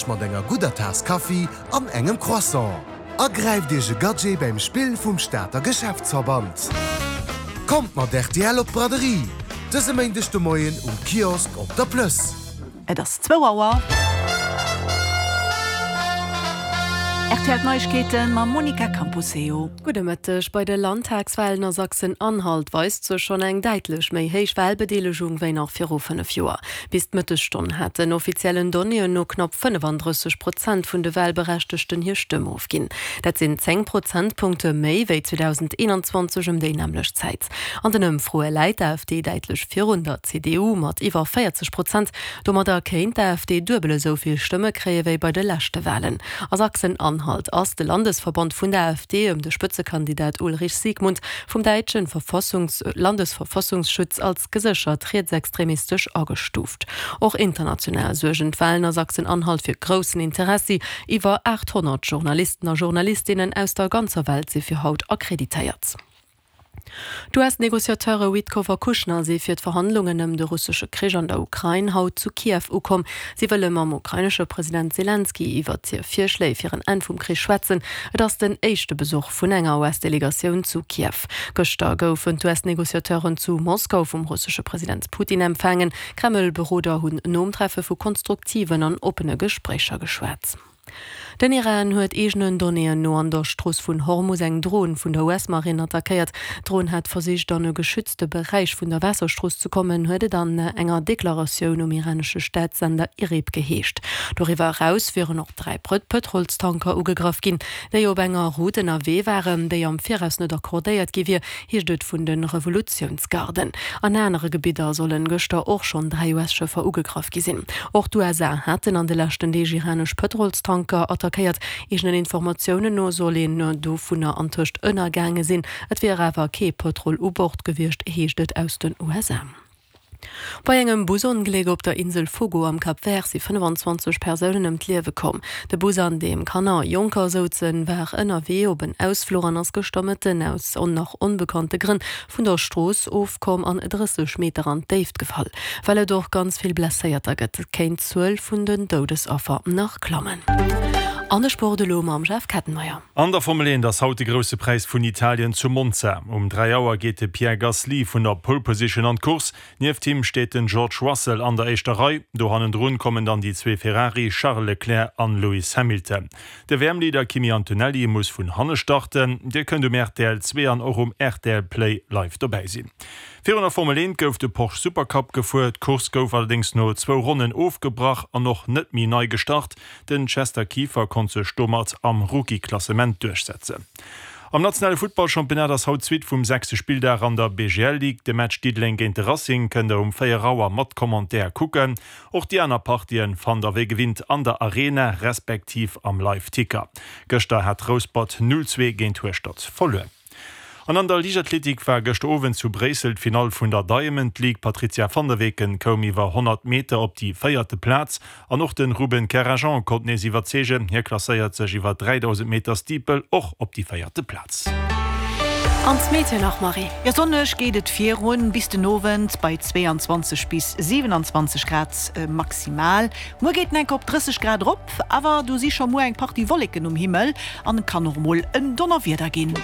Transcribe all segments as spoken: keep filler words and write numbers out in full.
Iech mat enger gudder Taass Kaffi an engem Croissant. A gräift Iech e Gadget beim Spill vum Stater Geschäftsverband. Kommt mat R T L op d'Braderie. Dëse Méindeg de Moien um Kiosk op der Plëss. Et ass zwou Auer. R T L Neiegkeeten mam Monica Camposeo. Gudde Mëtteg. Bei de Landtagswalen a Sachsen-Anhalt weist sech schonn eng däitlech méi héich Walbedeelegung wéi nach viru fënnef Joer. Bis d'Mëttesstonn haten offiziellen Donnéeën no knapp fënnefandrësseg Prozent vun de Walberechtegten hir Stëmm ofginn. Dat sinn zéng Prozentpunkte méi wéi zweedausendeenanzwanzeg ëm déi nämmlecht Zäit. An den Ëmfroe läit d'A F D däitlech virun der C D U mat iwwer véierzeg Prozent. Domadder kéint d'A F D duebel esou vill Stëmme kréie wéi bei de leschte Walen. A Sachsen-Anhalt ass de Landesverband vun der A F D ëm de Spëtzekandidat Ulrich Siegmund vum däitschen Verfassungs Landesverfassungsschutz als geséchert rietsextremistesch agestuuft. Och international suergen d'Walen a Sachsen-Anhalt fir groussen Interessi. Iwwer aathonnert Journalisten a Journalistinnen aus der ganzer Welt si fir haut akkreditéiert. D'U S-Negociateure Witkoff a Kushner si fir d'Verhandlungen ëm de russesche Krich an der Ukrain haut zu Kiew ukomm. Si wëlle mam ukrainesche President Selenskyj iwwer hir Virschléi fir en Enn vum Krich schwätzen. Et ass den éischte Besuch vun enger U S-Delegatioun zu Kiew. Gëschter goufen d'U S-Negociateuren zu Moskau vum russesche President Putin empfaangen. Kreml-Beroder hunn nom Treffe vu konstruktiven an oppene Gespréicher geschwat. Den Iran huet eegenen Donnéeën no an der Strooss vun Hormus eng Dron vun der U S-Marinn attackéiert. D'Dron hat versicht, an e geschützte Beräich vun der Waasserstrooss ze kommen, huet et an enger Deklaratioun um iranesche Staatssender I R I B geheescht. Doriwwer eraus wieren och dräi Pëtrolstanker ugegraff ginn, déi op enger Route ënnerwee waren, déi am Viraus net accordéiert gi wier, heescht et vun de Revolutiounsgarden. An anere Gebidder solle gëschter och schonn dräi U S-Schëffer ugegraff gi sinn. Och d'U S A haten an de leschten Deeg iranesch Pëtrolstanker attackéiert. Eegenen Informatiounen no soll een dovunner antëscht ënnergaange sinn. Et wier awer kee Pëtrol u Bord gewiescht, heescht et aus den U S A. Bei engem Busongléck op der Insel Fogo am Cap Vert si fënnefenzwanzeg Persounen ëm d'Liewe komm. De Bus, an deem Kanner a Jonker souzen, war ënnerwee op en Ausfluch an ass gëschter Mëtten aus nach onbekannte Grënn vun der Strooss ofkomm an drësseg Meter an d'Déift gefall. Well et och ganz vill Blesséierter gëtt, kéint d'Zuel vun den Doudesaffer nach klammen. An de Sport elo mam Jeff Kettenmeyer. An der Formel eent ass haut de Grousse Präis vun Italien zu Monza. Um dräi Auer geet de Pierre Gasly vun der Pole Position an d'Course. Nieft him steet den George Russell an der éischter Rei. Do hannendrun kommen dann déi zwee Ferrari, Charles Leclerc an Lewis Hamilton. De W M-Leader Kimi Antonelli muss vun hanne starten. Dir kënnt um R T L zwee an och um R T L Play live dobäi sinn. Virun der Formel eent gouf de Porsche Supercup gefuer. D'Course gouf allerdéngs no zwou Ronnen ofgebrach an och net méi nei gestart. Den Chester Kieffer konnt sech domat am Rookie-Klassement duerchsetzen. Am nationale Futtballchampionnat ass haut d'Suite vum sechste Spilldag an der B G L Ligue. De Match Diddeleng géint de Racing kënnt der um véier Auer mat Commentaire kucken. Och déi aner Partien fannt der wéi gewinnt an der Arena respektiv am Live-Ticker. Gëschter hat Rouspert null zwee géint Hueschtert verluer. An an der Liichtathletik war gëschter Owend zu Bréissel d'Finall vun der Diamond League. D'Patrizia van der Weken koum iwwer honnert Meter op déi véierte Plaz an och de Ruben Karajan konnt nees iwwerzeegen. Hie klasséiert sech iwwer dräidausend Meter Steeple och op déi véierte Plaz. An d'Meteo nach, Marie. Jo, sonneg geet et virun bis den Owend bei zweeanzwanzeg bis siwenanzwanzeg Grad maximal. Muer geet et enk op drësseg Grad erop, awer do si scho muer eng Partie Wolleken um Himmel an et kann och mol en Donnerwieder ginn.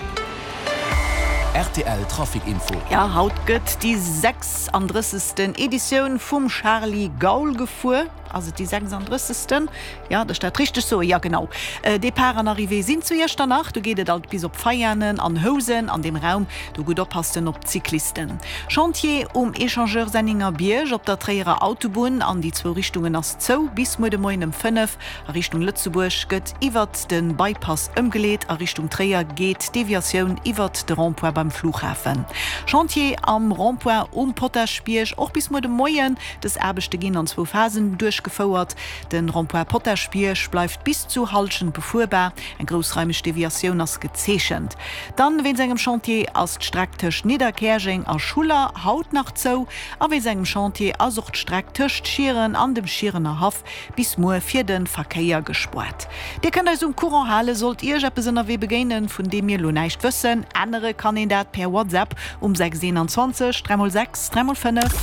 R T L Trafic Info. Ja, haut gëtt déi sechsandrëssegsten Editioun vum Charly Gaul gefuer. Ass et déi sechsandrëssegsten? Ja, dat steet richteg sou. Ja, genau. Depart an Arrivée sinn zu Iechternach. Do geet et alt bis op Veianen an Housen an deem Raum. Do gutt oppassen op d'Cyclisten. Chantier um Echangeur Senningerbierg op der Tréierer Autobunn. An déi zwou Richtungen ass zou bis muer de Moien ëm fënnef. A Richtung Lëtzebuerg gëtt iwwert de Bypass ëmgeleet. A Richtung Tréier geet d'Deviatioun iwwert de Rond-point beim Flughafen. Chantier am Rond-point um Potaschbierg och bis muer de Moien. Dës Aarbechte ginn an zwou Phasen duerchgefouert. De Rond-point Potaschbierg bleift bis zu Halschent befuerbar. Eng groussraimeg Deviatioun ass gezeechent. Dann wéinst engem Chantier ass d'Streck tëscht Nidderkäerjeng a Schuller haut nach zou. A wéinst engem Chantier ass och d'Streck tëscht Schieren an dem Schierener Haff bis muer fir de Verkéier gespaart. Dir kënnt eis um Courant halen, sollt Iech eppes ënnerwee begéinen, vun deem mir lo näischt wëssen. Ännere kann een dat per WhatsApp um sechs eenanzwanzeg dräi mol sechs dräi mol fënnef.